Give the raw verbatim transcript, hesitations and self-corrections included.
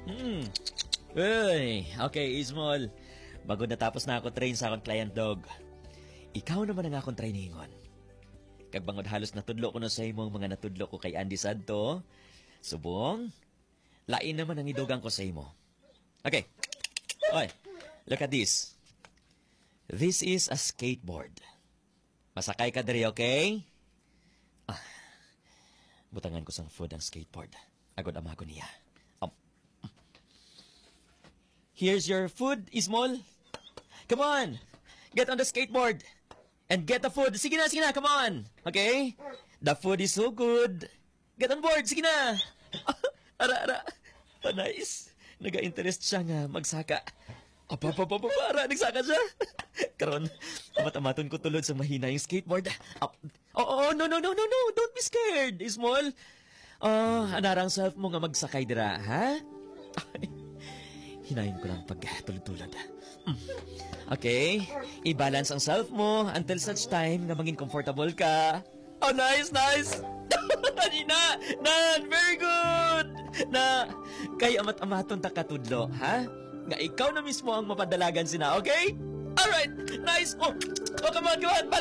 Hmm. Uy, okay, Ismol. Bago natapos na ako train sa akong client dog, ikaw naman ang akong trainingon. Kag bangod halos natudlo ko na sa imo ang mga natudlo ko kay Andy Santo, subong, lain naman ang idugang ko sa imo. Okay. Oy, look at this. This is a skateboard. Masakay ka diri, okay? Ah, butangan ko sang food ang skateboard. Agod amagon niya. Um, here's your food, Ismol. Come on. Get on the skateboard. And get the food. Sige na, sige na. Come on. Okay? The food is so good. Get on board. Sige na. Ara, ara. Panais. Naga-interest siya nga magsaka. Apa, apa, apa, apa, ara, nagsaka siya. Karon, amat-amaton ko tulod sa mahina yung skateboard. Ap-, oh, oh, no, no, no, no, no. Don't be scared, Ismol. Ah, anarang self mo nga magsakay dira, ha? Hinayon ko lang pagtulod-tulod. Mm. Okay, i-balance ang self mo until such time nga mangin comfortable ka. Oh, nice, nice! Hina! Nan! Very good! Na, kay amat-amaton ta katudlo, ha? Nga ikaw na mismo ang mapadalagan sina, okay? Alright! Nice! Oh, oh, come on, come on!